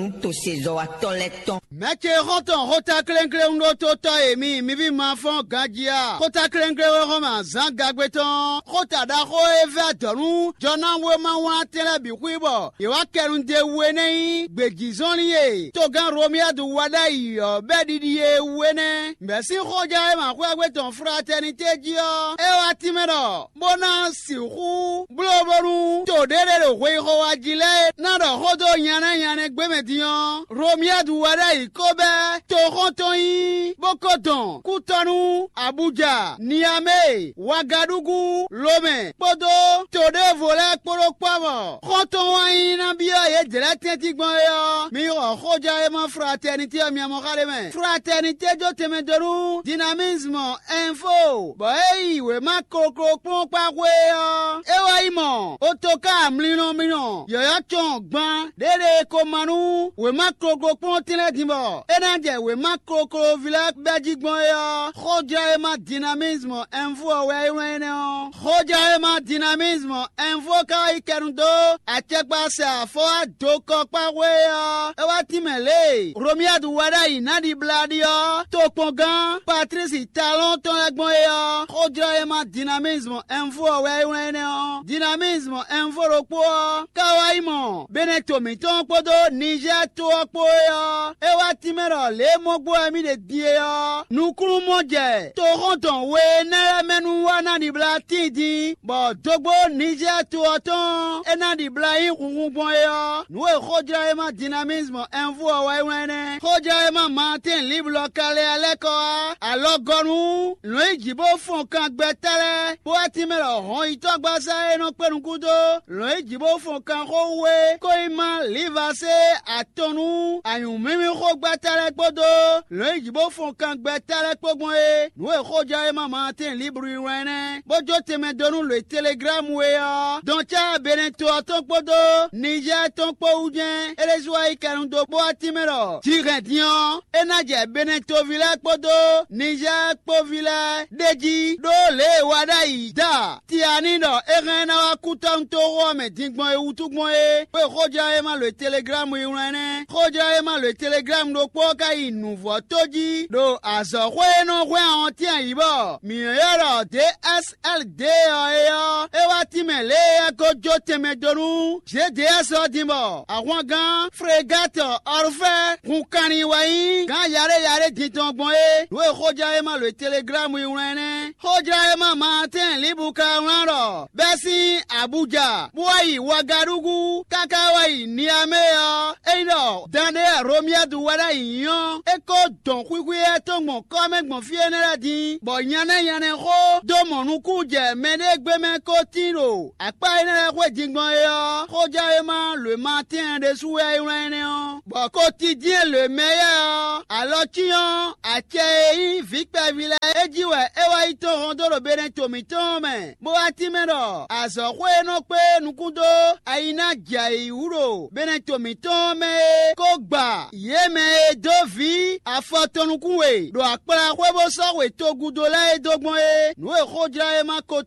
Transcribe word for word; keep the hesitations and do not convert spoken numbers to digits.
nú tosezɔ́watɔ́ lɛ́ɛ tɔn. Mɛ̌ ce xɔ́ntɔn xóta klénkléwún ɖó tó tɔ́ e mi, mi ví ma fɔ́n ganjí a? Xóta klénkléwún e xɔ́n mɛ azǎn gagbe tɔn, xóta ɖaxó e vɛ́ adɔ̌ nú jɔnáwéma wlán tɛn lɛ́ɛ bǐ xwí bɔ yě wá kɛ nu d'é wú é nɛ́ nyí gbějízɔnlin e togán Romiyadu wa ɖ'ayǐ ɔ́ bɛ́ ɖiɖi e wú é nɛ́. Mɛ̌ sín xójá e ma xwé égbé tɔn fratɛnité jí ɔ́, é wá tínmɛ ɖɔ bó ná sixú bló bónú to ɖé ɖé ɖo hweyixɔwa jí lɛ́ɛ ná ɖɔ xó dó nyanɛ́ nyanɛ́ gbé mɛ din ɔ́, Romiyadu wɛ ɖ'ayǐ ko bɛ́ toxɔ́ntɔn nyí, bó ko dɔn kútɔ́nú, Abuja, Niamé, Wagadugu, Lomɛ kpódó to ɖěvo lɛ́ɛ kpó ɖó kpɔ́ mɔ. Xɔ́ntɔn wá nyí ná byɔ́ yědɛɛ lɛ́ɛ tɛ́ntin gbɔn é ɔ́, mi xɔ xójɔ́ e mɔ fratɛnitě ɔ́ miamɔ xa ɖé mɛ. Fratɛnitě jó tɛnmɛ dó nú Dinamisme Info, bɔ é yi wěma koklokplɔ́nkpá xwé ɔ́, é wá yi mɔ otoká mlinɔ mlinɔ yɔ̌yɔ́ cɔn gban ɖěɖe ko ma nú wěma koklokplɔ́ntɛn lɛ́ɛ din bɔ é ná jɛ wěma kokloví lɛ́ɛ bɛ́ jí gbɔn é ɔ́, xójlɔ́ e ma Dinamisme Info ɔ́ wɛ é wlán énɛ́ ɔ́. Xójlɔ́ e ma Dinamisme Info ka wá yi kɛnu dó acɛkpasɛ afɔwá dokɔkpáxwé ɔ́, é wá tínmɛ lě e Romiyadu wá ɖ'ayǐ ná ɖibla ɖi ɔ́, tokpɔngán Patlísi Talɔ́n tɔn lɛ́ɛ gbɔn é ɔ́, xójlɔ́ e ma Dinamisme Info ɔ́ wɛ é wlán énɛ́ ɔ́. Dinamisme Info ɖokpó ɔ́ ka wá yi mɔ Benɛto mǐtɔn kpódó Nizɛ́ɛ to ɔ́ kpó é ɔ́, é wá tínmɛ ɖɔ lě e mɔ gbɔ wɛ mì ɖe din é ɔ́, nukúnnú mɔ jɛ toxɔ́ntɔn we énɛ́ lɛ́ɛ mɛ nú wá ná ɖibla tíin din, bɔ dógbó Nizɛ́ɛ to ɔ́ tɔn e ná ɖibla nyí hunhun gbɔn é ɔ́, nǔ e xójlɔ́ e ma Dinamisme Info ɔ́ wá yi wlán énɛ́. Xójlɔ́ e ma Martin Libre ka lɛ́ lɛ́ kɔ wá alɔgɔ́nú lɔ̌n yi jǐ bó fɔn kan gbɛtɔ́ lɛ́ɛ, bó wá tínmɛ ɖɔ hɔn yitɔ́gbasá e nɔ kpé nukún dó lɔ̌n yi jǐ bó fɔn kan xó wú é, kó yi má Livasé atɔn nú anyǔmímíxógbɛ́tɔ́ lɛ́ɛ kpódó lɔ̌n yi jǐ bó fɔn kan gbɛtɔ́ lɛ́ɛ kpó gbɔn é. Nǔ e xójɔ́ e ma Martin Libre yi wlán nɛ́, bó jó tɛnmɛ dó nú lǒ e Teleglámu é ɔ́, dɔn cá Benɛto ɔ́ tɔn kpódó Nizɛ́ɛ tɔn kpó wú jɛ́n. É ɖésú wá yi kɛnu dó bó wá tínmɛ ɖɔ jǐ hɛn din ɔ́, é ná jɛ Benɛtoví lɛ́ɛ kpódó Nizɛ́ɛ kpóví lɛ́ɛ ɖ'é jí ɖó lě e wa ɖ'ayǐ da Tiani ɖɔ é hɛn ná wá kú tɔ́nútoxo ɔ́ mɛ din gbɔn é wútu gbɔn é. Xó e xójlɔ́ e ma lǒ e Teleglámu yi wlán nɛ́. Xójlɔ́ e ma lǒ e Teleglámu ɖokpó ɔ́ ka yi nǔvɔ́ tó jí ɖo azɔ̌xwé e nɔ hwɛ́n awɔntín ayǐ bɔ mǐ nɔ ylɔ́ ɖɔ D S L D ɔ́ é ɔ́, é wá tínmɛ lě e é ko jó tɛnmɛ dó nú G D S ɔ́ din bɔ ahwangán Fregatɔ Ɔlfɛ́ hun kanlin wɛ nyí gǎn yaɖé yaɖé din tɔn gbɔn é. Nǔ e xójlɔ́ e ma lǒ e Teleglámu yi wlán nɛ́. Xójlɔ́ e ma Martin Libre ka wlán ɖɔ bɛ́ sín Abuja bó wá yi Wagadugu káká wá yi Niamé ɔ́, é nyí ɖɔ dan ɖé Romiyadu wɛ ɖ'ayǐ nyí ɔ́, é ko dɔn xwixwi éyɛ́ tɔn gbɔn kɔ́ mɛ gbɔn fí énɛ́ lɛ́ɛ din, bɔ nyanɛ́ nyanɛ́ xó dó mɔ nukún jɛ mɛɖégbémɛ ko tín ɖo akpá énɛ́ lɛ́ɛ xwé din gbɔn é ɔ́, xójlɔ́ e ma lǒ e ma tɛ́n ɖésú wɛ é wlán énɛ́ ɔ́, bɔ ko tindín e lǒ e mɛ éyɛ́ ɔ́, alɔ cyɔ́n acɛ e nyí vǐ kpɛví lɛ́ɛ é jí wɛ é wá yi tɔ́n hɔn dó ɖo Benɛto mǐtɔn ɔ́ mɛ, bó wá tínmɛ ɖɔ azɔ̌xwé e nɔ kpé nukún dó ayi ná jɛ ayǐ wú ɖo Benɛto mǐtɔn ɔ́ mɛ é kó gba yě mɛ e dó vǐ afɔ tɔn nukún we ɖo akplaxwé bó sɔ́ we togudo lɛ́ɛ é dó gbɔn é. Nǔ e xójlɔ́ e ma ko